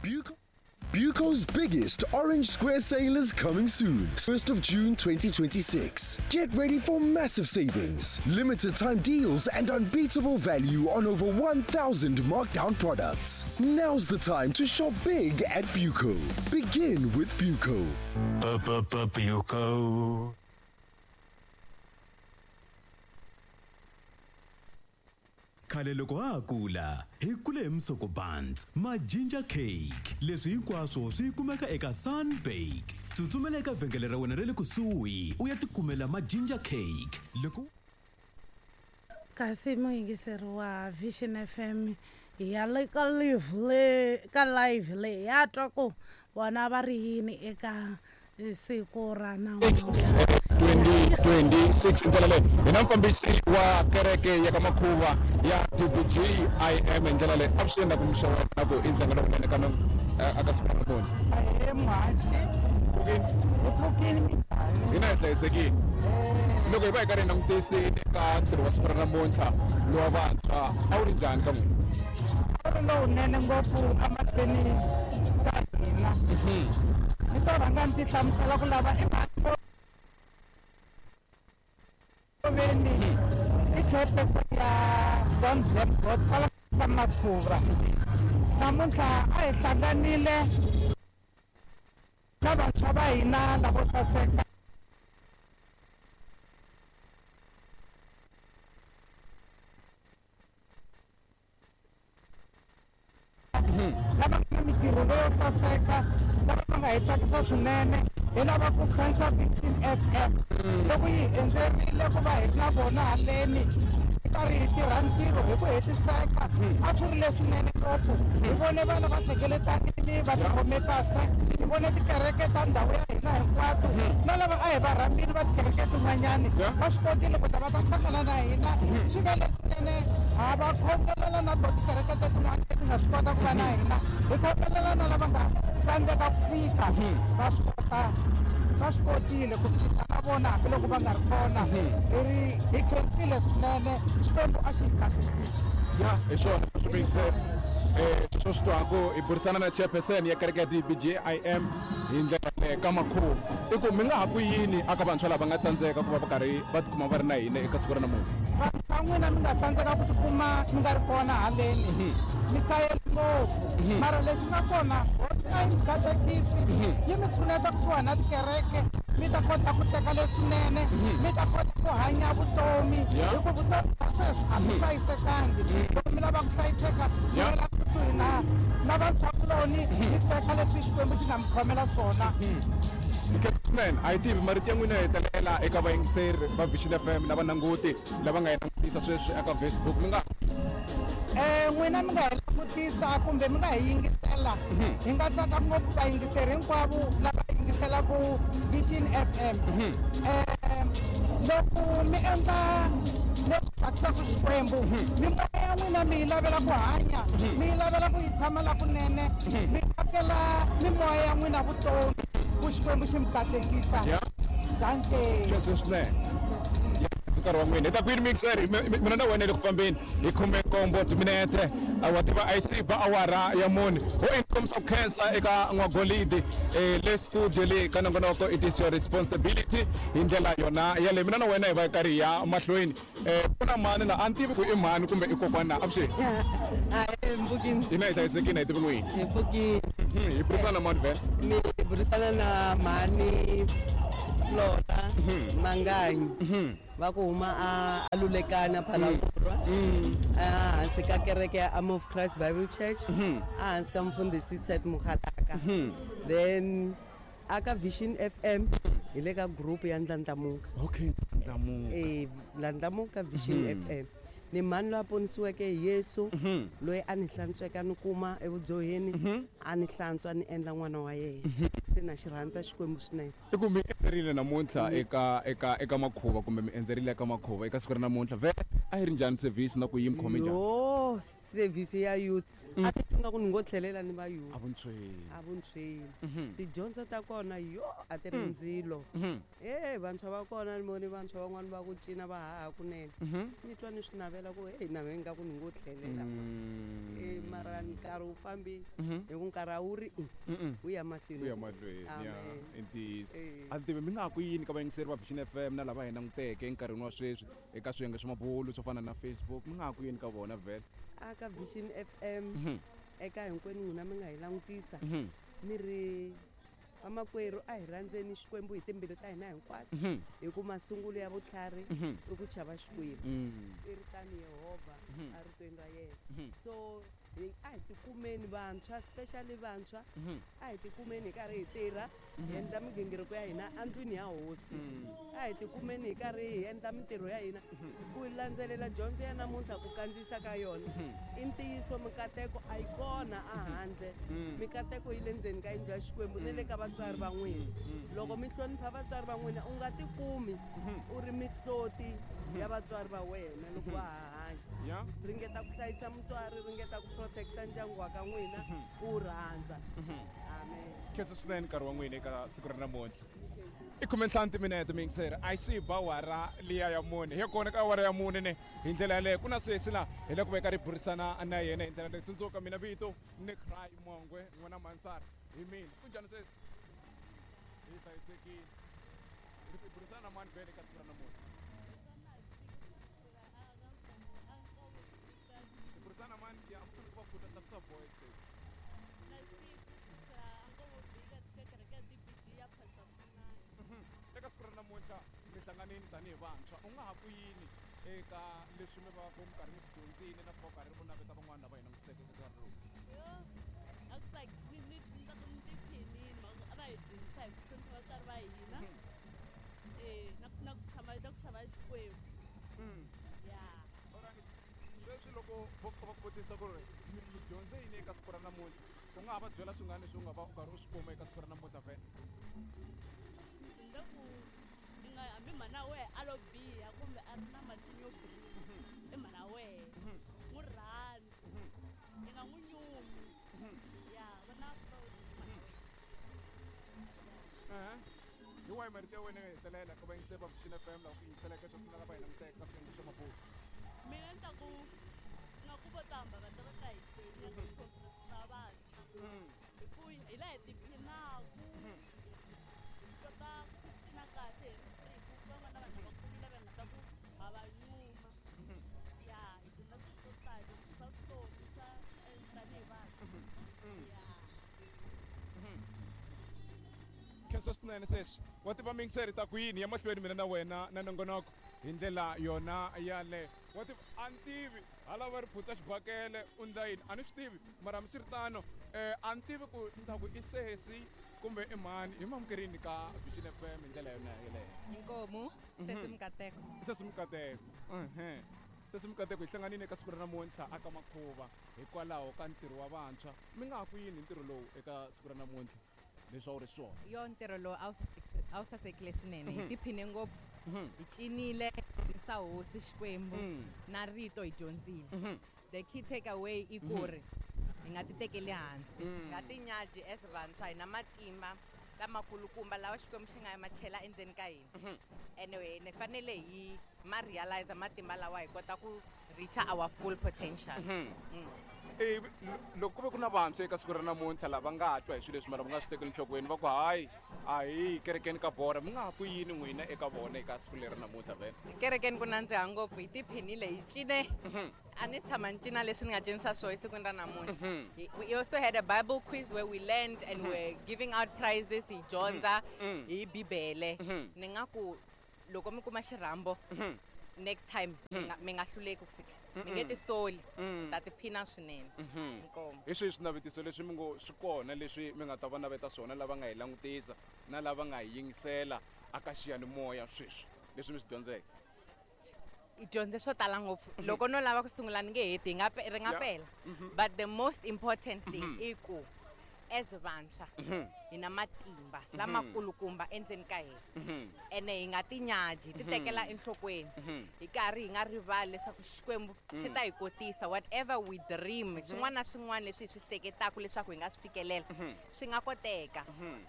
Buco Buco's biggest Orange Square sale is coming soon, 1st of June 2026. Get ready for massive savings, limited time deals, and unbeatable value on over 1,000 markdown products. Now's the time to shop big at Buco. Begin with Buco. Buco. Khale loko ha ha kula hi kule hi musoko buns ma ginger cake leswi hinkwaswo swi kumeka eka Sunbake tsutsumela eka vhengele ra wena ra le kusuhi u ya tikumela ma ginger cake loko Kasi muyingiseri wa Vision FM hi ya le ka live le ka live leyi ya twa ku vona va ri yini eka siku ra namuntlha. 2026 hi ndlela leyi hi na mufambisi wa kereke ya ka makhuva ya dbg im hi ndlela leyi avuxeni na ku muxa wena na ku i ndzhenga lowunene ka aka siku ra namuntlha. Ahee muhaxi. Pfukini. Hi pfukini minjhani? Hina hi hlayisekile. Loko hi va hi karhi hi langutisile ka ntirho wa siku ra namuntlha lowa vantshwa a wu ri njhani ka n'wina? A wu ri lowunene ngopfu emahlweni ka hina. Ni to rhanga ni ti hlamusela ku lava i mhani Ngoveni i chairperson ya Don't Blame God kwala ka Makhuvha. Namuntlha a hi hlanganile na vantshwa va hina lavo saseka. Lava nga na mintirho leyo saseka, lava va nga hi tsakisa swinene. Hi lava ku khensa Vision FM loko yi hi endzerile ku va hi ri na vona haleni hi karhi hi tirha ntirho hi ku hetiseka. A swi ri leswinene ngopfu. Hi vone vana va hlengeletanile va tikhome kahle. Hi vone tikereke ta ndhawu ya hina hinkwato na lava a hi va rhambile va tikereke tin'wanyani va swi kotile ku ta va ta hlangana na hina. Swi ve leswinene. Ha va khongelela na to tikereke tetin'wana leti nga swi kota ku va na hina. Hi khongelela na lava nga tsandzeka ku fika, va swi kota, va swi kotile ku fika na vona hambiloko va nga ri kona. Hi ri hi khensile swinene, Xikwembu a xi hi katekisi. Ya, hi swona sweswo miyingiseri. Sweswo swi twaku hi burisana na chairperson ya kereke ya DBGIM hi ndlela yaleyo ka makhuva. I ku mi nga ha ku yini aka vantshwa lava nga tsandzeka ku va va karhi va tikuma va ri na hina eka siku ra namuntlha? Vantshwa n'wina mi nga tsandzeka ku tikuma mi nga ri kona haleni, mi kayele ngopfu. Mara lexi nga kona, Hosi a yi mi katekisi, yi mi tshuneta kusuhani na tikereke, mi ta kota ku teka leswinene, mi ta kota ku hanya vutomi, hi ku vutomi bya sweswi a byi hlayisekangi. Loko mi lava ku hlayiseka, tshunelani kusuhi na vantshwakuloni, mi teka leswi Xikwembu xi nga mi khomela swona. Nkhensa swinene. A hi tivi marito ya n'wina yo hetelela eka vayingiseri va Vision FM na valanguti lava nga hi langutisa sweswi eka Facebook. Mi nga N'wina mi nga hi langutisa kumbe mi nga hi yingisela. Hi nga tsaka ngopfu vayingiseri hinkwavo lava yingiselaka Vision FM. Loko mi endla leswi tsakisaka Xikwembu, mimoya ya n'wina mi yi lavela ku hanya, mi yi lavela ku yi tshama lakunene, mi akela mimoya ya n'wina vutomi ku Xikwembu xi mi katekisa. Dankie. Khensa swinene. Nkarhi wa n'wina hi ta kwini mixer mina na wena le ku fambeni hi khume nkombo timinete wa tiva a yi se ba awara ya mune ho i kombisa ku khensa eka n'wagolidi le studio leyi ka nongonoko it is your responsibility hi ndlela yona yaleyo mina na wena hi va hi karhi hi ya mahlweni ku na mani la a ni tivi ku i mhani kumbe i kokwana na avuxeni. Ahee mpfukini. Hina hi hlayisekile a hi tivi n'wini. Hi pfukile. Hi burisana na mani vhele? Mi burisana na mhani Flora Manganyi va ku huma a Lulekana Phalaborwa ehansi ka kereke ya Army of Christ Bible Church ehansi ka mfundhisi Seth Mokgalaka. Then aka Vision FM hi le ka group ya Ndlandlamuka. Okay, Ndlandlamuka. Ndlandlamuka Vision FM. Ni mhani loyi a ponisiweke hi Yesu, loyi a ni hlantsweke a ni kuma evudyoheni, a ni hlantswa a ni endla n'wana wa yena. Se na xi rhandza Xikwembu swinene. I ku mi endzerile namuntlha eka eka eka makhuva kumbe mi endzerile eka makhuva eka siku ra namuntlha vhele a yi ri njhani service na ku yi mi khome njhani? Yoh, service ya youth a ni twa nga ku ni ngo tlhelela ni va youth. Evuntshweni. Evuntshweni. Tidyondzo ta kona yoh a ti ri ndzilo. He vantshwa va kona ni vone vantshwa van'wani va ku cina va haha kunene. Ni twa ni swi navela ku heyi na mehe ingaku ni ngo tlhelela. Mara nkarhi wu fambile, hi ku nkarhi a wu ri wu ya mahlweni. Ku ya mahlweni ya. Amen. I ntiyiso. Eh. A ni tivi mi nga ha ku yini ka vayingiseri va Vision FM na lava hi languteke enkarhini wa sweswi eka swiyenge swa mabulu swo fana na Facebook, mi nga ha ku yini ka vona vhele? A ka Vision FM, eka hinkwenu n'wina mi nga hi langutisa, ni ri vamakwerhu, a hi rhandzeni Xikwembu hi timbilu ta hina hinkwato, hi ku masungulo ya vutlhari i ku chava Xikwembu. I ri tani Yehovha a ritweni ra yena. So a hi tikumeni vantshwa, especially vantshwa, a hi tikumeni hi karhi hi tirha, hi endla migingiriko ya hina endlwini ya hosi. A hi tikumeni hi karhi hi endla mintirho ya hina ku landzelela dyondzo ya namuntlha, ku kandziyisa ka yona i ntiyiso. Mikateko a yi kona ahandle, mikateko yi le ndzeni ka yindlu ya Xikwembu ni le ka vatswari va n'wina. Loko mi hlonipha vatswari va n'wina, u nga tikumi u ri mihloti ya vatswari va wena loko va ha hanya. Ringeta ku hlayisa mutswari, ringeta ku protecta ndyangu wa ka n'wina, ku wu rhandza. Amen. Khensa swinene nkarhi wa n'wina eka siku ra namuntlha. I 15 timinete, miyingiseri, a yi swi ba awara liya ya 4. Hi ya kona ka awara ya 4 ne hi ndlela yaleyo. Ku na sesi laha hi le ku veka ri burisana na yena hi ndlela leyi. Tsundzuka, mina vito ni Cry Mongwe n'wana Mansara hi mina. Ku njhani sesi? Hi hlayisekile. Hi burisana na mani vhele eka siku ra namuntlha? Hi burisana na mani? Ya ku va khuta, tlakusa voice sesi. Eka siku ra namuntlha mi hlanganini tanihi vantshwa, u nga ha ku yini eka leswi mi va ku mi karhi mi swi dyondzile na ku va karhi u naveta van'wana lava hi langutiseke eka nkarhi lowu? A ku ni ni ni tiphinini a va hi dyondzisa hi ku hlonipha vatswari va hina, na ku chava Xikwembu ya. Alright. Sweswi loko vo va ku vutisa ku ri mi dyondze yini eka siku ra namuntlha, u nga ha va byela swingani leswi u nga va u karhi u swi kuma eka siku ra namuntlha vhele? Ndzi ku i nga hambi mhana wehe a lo biha kumbe a ri na matinyo yo biha, i mhana wehe, n'wi rhandzi, i nga n'wi nyumi ya vona proud hi mhana wehe. Ehe. Hi wahi marito ya wena yo hetelela ka vayingiseri va Vision FM lava ku yingiseleke sweswi na lava hi languteke ka swiyenge swa mabulu? Mina ni ta ku nga ku vo tamba va ta va ta hi joyina ka ti-conference ta vantshwa, hi ku hi laha hi tiphinaku, hi kota ku cina kahle hi ri free, ku van'wana vanhu lavakulu lava hi nga ta ku ha va nyuma ya. Hi dyondza swilo swo tala swa vutomi swa tanihi vantshwa ya. Khensa swinene sesi. Wa tiva miyingiseri, ta ku yini ya mahlweni mina na wena na nongonoko hi ndlela yona yaleyo. Wa tiva, a ni tivi hala va ri phutsa xibakele u ndla yini, a ni swi tivi, mara hambiswiritano a ni tivi ku ni ta ku i sesi kumbe i mhani. Hi mamukerini ka Vision FM hi ndlela yona yeleyo. Inkomu, sesi Mukateko. Sesi Mukateko, ehe, sesi Mukateko, hi hlanganile eka siku ra namuntlha aka makhuva hikwalaho ka ntirho wa vantshwa. Mi nga ha ku yini hi ntirho lowu eka siku ra namuntlha leswi a wu ri swona? Yo, ntirho lowu a wu sasekile swinene. Hi tiphine ngopfu. Hi cinile, hi hosi Xikwembu na rito hi dyondzile. The key takeaway i ku ri hi nga ti tekeli hansi, hi nga tinyaji. As vantshwa hi na matimba lamakulukumba lawa Xikwembu xi nga ma chela endzeni ka hina, ene hi fanele hi ma realize matimba lawa, hi kota ku reach our full potential. Ivi loko ku ve ku na vantshwa eka siku ra namuntlha lava nga twa hi swilo leswi mara va nga swi tekeli enhlokweni, va ku hayi, a hi kerekeni ka bora, mi nga ha ku yini n'wina eka vona eka siku leri namuntlha vhele? Kerekeni ku nandziha ngopfu. Hi tiphinile, hi cine. A ni si tshama ni cina leswi ni nga cinisa swona esikwini ra namuntlha. We also had a Bible quiz where we learned and we're giving out prizes. Hi dyondza hi Bibele. Ni nga ku loko mi kuma xirhambo next time, mi nga hluleki ku fika, mi nge tisoli, ta tiphina swinene. Inkomu. Hi swihi swinavetiso leswi mi ngo swi kona leswi mi nga ta va naveta swona lava nga hi langutisa na lava nga hi yingisela aka xiyanimoya sweswi, leswi mi swi dyondzeke? Hi dyondze swo tala ngopfu. Loko no lava ku sungula ni nge heti, hi nga ri nga pela. But the most important thing i ku as vantshwa hi na matimba lamakulukumba endzeni ka hina, ene hi nga tinyaji, hi ti tekela enhlokweni, hi karhi hi nga rivali leswaku Xikwembu xi ta hi kotisa whatever we dream. Swin'wana na swin'wana leswi hi swi hleketaka leswaku hi nga swi fikelela swi nga koteka.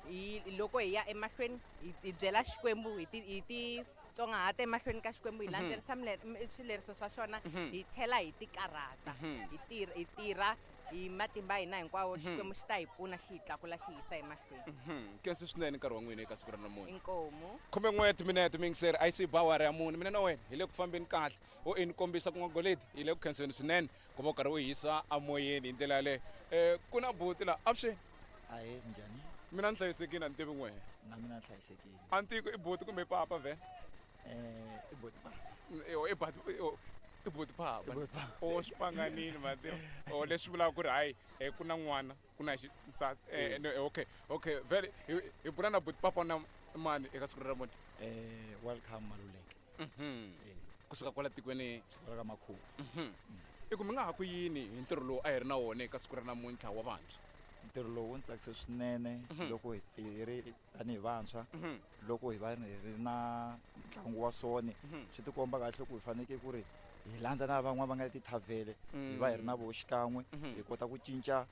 Hi loko hi ya emahlweni hi byela Xikwembu, hi ti titsongahata emahlweni ka Xikwembu, hi landzelerisa swileriso swa xona, hi tlhela hi tikarhata, hi tirha hi matimba hina hinkwawo, Xikwembu xi ta hi pfuna, xi hi tlakula, xi yisa emahlweni. Khensa swinene nkarhi wa n'wina eka siku ra namuntlha. Inkomu. 11 timinete mingiseri a yi si ba awara ya 4. Mina na wena hi le ku fambeni kahle. O i ni kombisa ku n'wagoleti hi le ku khenseni swinene ku va u karhi u hisa amoyeni hi ndlela yaleyo. Ku na buti laha avuxeni. Ahee, minjhani? Mina ni hlayisekile, a ni tivi n'wehe. Na mina ni hlayisekile. A ni tivi ku i buti kumbe i papa vhele? I buti papa. I buti papa. I buti papa. O swi panganile mativa. O leswi vulaka ku ri hayi, ku na n'wana, ku na nsati. No, okay, okay, vhele hi bula na buti papa na mani eka siku ra namuntlha? Welcome Maluleke. Kusuka kwala tikweni, Kusuka ka Makhuwa. I ku mi nga ha ku yini hi ntirho lowu a hi ri na wona eka siku ra namuntlha wa vantshwa? Ntirho lowu wu ndzi tsakise swinene loko hi ri tanihi vantshwa, loko hi va hi ri na ntlangu wa sone, swi tikomba kahle ku hi fanekele ku ri hi landza na van'wana va nga le tithavhele, hi va hi ri na voho xikan'we, hi kota ku cinca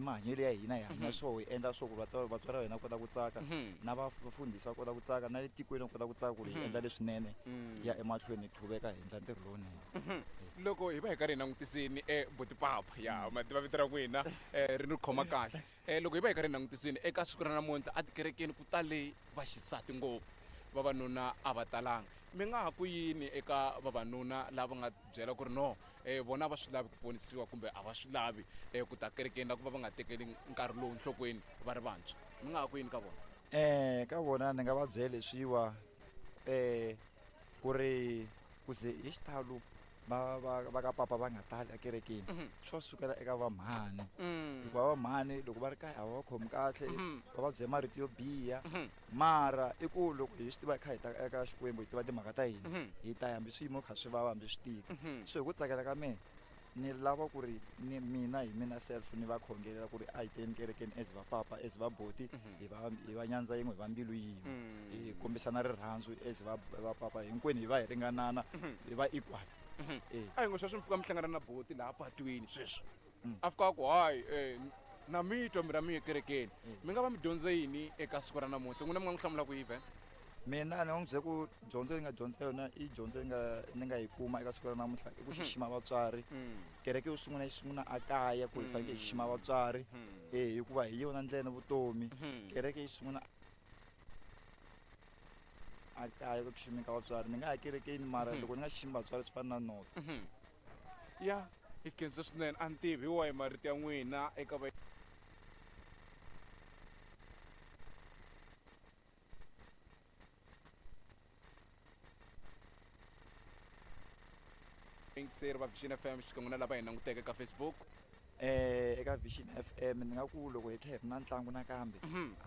mahanyelo ya hina, hi hanya so, hi endla so ku vatswari va hina va kota ku tsaka, na vafundhisi va kota ku tsaka, na le tikweni va kota ku tsaka ku ri hi endla leswinene, hi ya emahlweni hi qhuveka hi endla ntirho lowunene. Loko hi va hi karhi hi langutisini buti papa ya ma tiva vito ra n'wina, ri ni khoma kahle. Loko hi va hi karhi hi langutisini eka siku ra namuntlha a tikerekeni ku tale vaxisati ngopfu, vavanuna a va talanga. Mi nga ha ku yini eka vavanuna lava nga byela ku ri no, vona va swi lavi ku ponisiwa kumbe a va swi lavi ku ta kerekeni la ku va va nga tekeli nkarhi lowu nhlokweni va ri vantshwa? Mi nga ha ku yini ka vona? Ka vona ni nga va byela leswiwa, ku ri ku ze hi xitalo va ka papa va nga tali ekerekeni, swi va sukela eka vamhani. Hikuva vamhani loko va ri kaya a va va khomi kahle, va va byela marito yo biha. Mara i ku loko hi swi tiva hi kha hi ta eka Xikwembu, hi tiva timhaka ta hina, hi ta ya hambi swiyimo kha swi vava, hambi swi tika. So hi ku tsakela ka mina, ni lava ku ri ni mina hi mina self ni va khongelela ku ri a hi teni kerekeni as va papa, as va boti, hi va nyandza yin'we, hi va mbilu yin'we, hi kombisana rirhandzu as va papa hinkwenu, hi va hi ringanana, hi va equal. A hi ngo sweswi mi fika mi hlangana na boti laha patwini sweswi, a fika a ku hayi, na mi twa mi ra mi ye kerekeni, mi nga va mi dyondze yini eka siku ra namuntlha? N'wina mi nga n'wi hlamula ku yihi? Mina ni nga n'wi byela ku dyondzo yi nga dyondza yona i dyondzo yi nga ni nga yi kuma eka siku ra namuntlha i ku xixima vatswari. Kereke yo sungula yi sungula a kaya ku hi fanekele hi xixima vatswari, hikuva hi yona ndlela ya vutomi. Kereke yi sungula a kaya ku xiximeni ka vatswari. Ni nga ya kerekeni mara loko ni nga xiximi vatswari swi fana na noto. Ya, hi khensa swinene. A ni tivi hi wahi marito ya n'wina eka va yingiseri va Vision FM xikan'we na lava hi languteke ka Facebook. Eka Vision FM ni nga ku loko hi tlhela hi ri na ntlangu nakambe,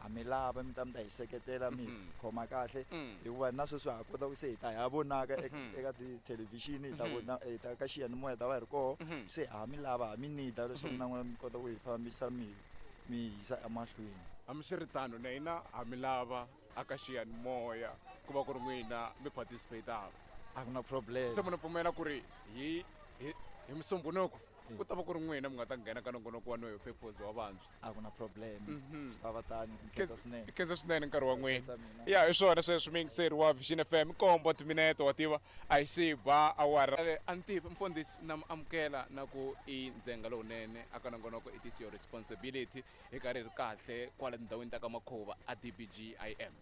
ha mi lava mi ta mi ta hi seketela, mi khoma kahle, hikuva na sweswi ha kota ku se hi ta ha vonaka eka tithelevhixini, hi ta vona, hi ta ka xiyanimoya ta va hi ri koho. Se ha mi lava, ha mi need-a leswaku na n'wina mi kota ku hi fambisa mi yisa emahlweni. Hambiswiritano na hina ha mi lava aka xiyanimoya ku va ku ri n'wina mi participate-aka. A ku na problem. Se munhu pfumela ku ri hi musumbhunuko ku ta va ku ri n'wina mi nga ta nghena ka nongonoko wa Know Your Purpose wa vantshwa. A ku na problem. Swi ta va tani, ku khensa swinene. Khensa swinene nkarhi wa n'wina. Khensa mina. Ya, hi swona sweswi muyingiseri wa Vision FM, nkombo timinete wa tiva a yi se ba awara. A ni tivi mfundhisi na mi amukela na ku i ndzenga lowunene aka nongonoko It Is Your Responsibility, hi karhi hi ri kahle kwala tindhawini ta ka Makhuva a DBGIM.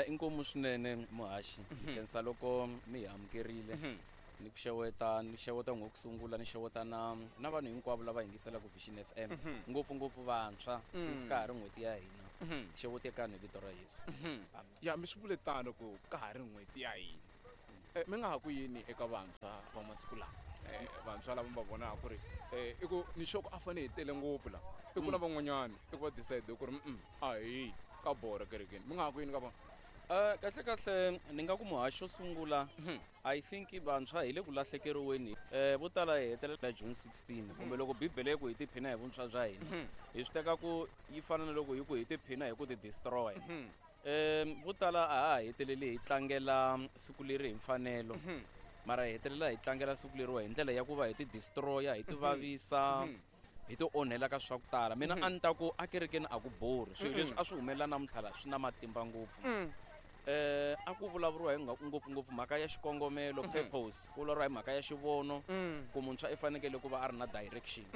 Inkomu swinene muhaxi, khensa loko mi hi amukerile. Ni ku xeweta, ni xeweta ngo ku sungula, ni xeweta na vanhu hinkwavo lava yingiselaka Vision FM, ngopfu ngopfu vantshwa, since ka ha ri n'hweti ya hina. Xewetekani hi vito ra Yesu. Ya, mi swi vule tano ku ka ha ri n'hweti ya hina. Mi nga ha ku yini eka vantshwa va masiku lawa? Vantshwa lava mi va vonaka ku ri, i ku ni sure ku a fanele hi tele ngopfu la. I ku na van'wanyani, i ku va decide ku ri, a hi ka borha kerekeni. Mi nga ha ku yini ka vona? Kahle kahle ni nga ku muhaxi xo sungula, I think vantshwa hi le ku lahlekeriweni. Vo tala hi hetelela June 16, kumbe loko Bibele yi ku hi tiphina hi vuntshwa bya hina, hi swi teka ku yi fana na loko yi ku hi tiphina hi ku ti destroy. Vo tala a ha heteleli hi tlangela siku leri hi mfanelo, mara hi hetelela hi tlangela siku leriwa hi ndlela ya ku va hi ti destroy, hi ti vavisa, hi ti onhela ka swa ku tala. Mina a ni ta ku a kerekeni a ku borhi, swilo leswi a swi humelela namuntlha la swi na matimba ngopfu. A ku vulavuriwa hi ngopfungopfu mhaka ya xikongomelo, purpose, ku vulavuriwa hi mhaka ya xivono, ku muntshwa i fanekele ku va a ri na direction.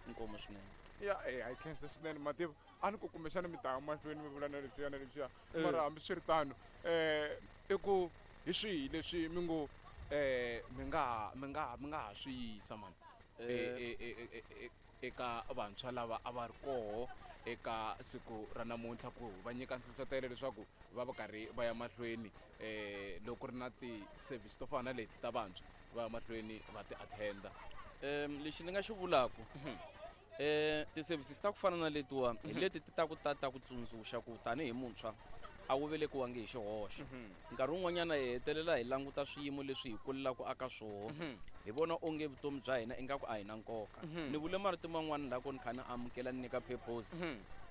Inkomu swinene. Ya, a yi khensa swinene. Mativa a ni ku kumbexana mi ta ya mahlweni mi vula na leswiya na leswiya, mara hambiswiritano i ku hi swihi leswi mi ngo mi nga ha swi yisa mani eka vantshwa lava a va ri koho eka siku ra namuntlha, ku va nyika nhlohlotelo leswaku va va karhi va ya mahlweni, loko ku ri na ti-service to fana na leti ta vantshwa, va ya mahlweni va ti attenda? Lexi ni nga xi vulaku, ti-services ta ku fana na letiwa hi leti ti ta ku ta ku tsundzuxa ku tanihi muntshwa a wu velekiwangi hi xihoxo. Nkarhi wun'wanyana hi hetelela hi languta swiyimo leswi hi kulelaka aka swoho, hi vona onge vutomi bya hina ingaku a hi na nkoka. Ni vule marito man'wani la ku ni kha ni amukela, ni nyika purpose,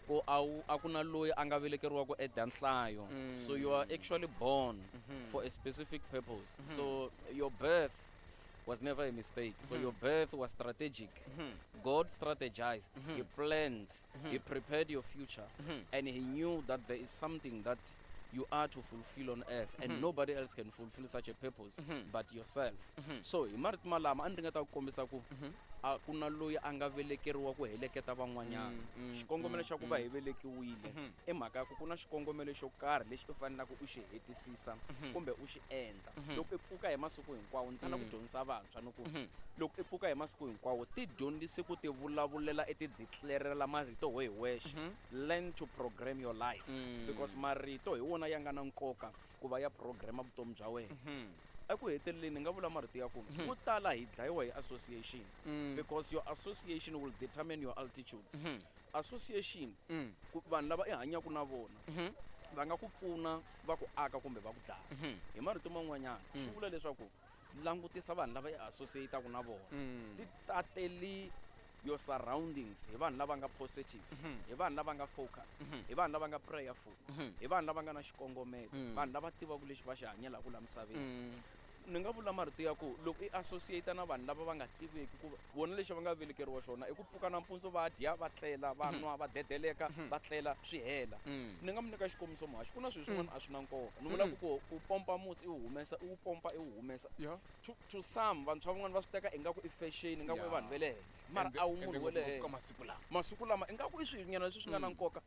ku a wu a ku na loyi a nga velekeriwa ku eda nhlayo. So you are actually born for a specific purpose. So your birth was never a mistake. So your birth was strategic. God strategized, he planned, he prepared your future, and he knew that there is something that you are to fulfill on earth, and nobody else can fulfill such a purpose but yourself. So hi marito malama a ni ringeta ku kombisa ku a ku na loyi a nga velekeriwa ku heleketa van'wanyana. Xikongomelo xa ku va hi velekiwile i mhaka ya ku ku na xikongomelo xo karhi lexi u faneleke u xi hetisisa kumbe u xi endla. Loko i pfuka hi masiku hinkwawo, ni tala ku dyondzisa vantshwa ni ku loko i pfuka hi masiku hinkwawo, ti dyondzise ku ti vulavulela, i ti declarela marito ho hi wexe. Learn to program your life, because marito hi wona ya nga na nkoka ku va ya programa vutomi bya wena. Eku heteleleni ni nga vula marito ya ku vo tala hi dlayiwa hi association, because your association will determine your altitude. Association, ku vanhu lava i hanyaka na vona va nga ku pfuna, va ku aka, kumbe va ku dlaya. Hi marito man'wanyana swi vula leswaku langutisa vanhu lava i associataka na vona, ti tateli your surroundings hi vanhu lava nga positive, hi vanhu lava nga focused, hi vanhu lava nga prayerful, hi vanhu lava nga na xikongomelo, vanhu lava tivaka lexi va xi hanyelaka la misaveni. Ni nga vula marito ya ku loko i associate na vanhu lava va nga tiveki ku vona lexi va nga velekeriwa xona i ku pfuka nampundzu, va dya, va tlela, va nwa, va dedeleka, va tlela, swi hela. Ni nga mi nyika xikombiso, muhaxi, ku na swilo swin'wana a swi na nkoka. Ni vula ku pompa musi i wu humesa, i wu pompa, i wu humesa. To some, vantshwa van'wana va swi teka ingaku i fashion, ingaku i vanhu va le henhla, mara a wu munhu wa le Ende henhla. Masiku lama. Masiku lama ingaku i swilo leswi swi nga na nkoka.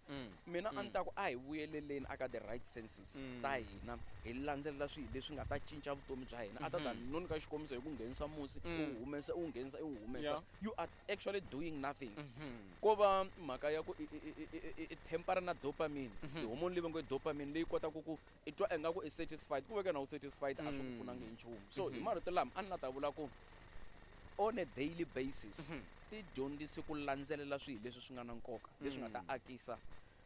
Mina a ni ta ku a hi vuyeleleni aka the right senses ta hina, hi landzelela swilo leswi nga ta cinca vutomi bya hina. A ta ta no nyika xikombiso hi ku nghenisa musi, u wu humesa, u wu nghenisa, i wu humesa, you are actually doing nothing. Ko va mhaka ya ku i tempera na dopamine, tihomoni leyi va ngo i dopamine, leyi kotaka ku i twa ingaku i satisfied, ku veke na u satisfied a swi ku pfunangi hi nchumu. So hi marito lama a ni la ta vula ku on a daily basis ti dyondzise ku landzelela swilo leswi swi nga na nkoka, leswi nga ta akisa.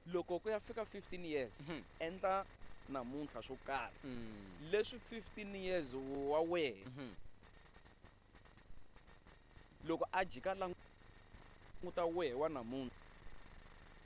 Loko ku ya fika 15 years, endla namuntlha swo karhi leswi 15 years wa wehe loko a jika languta wehe wa namuntlha.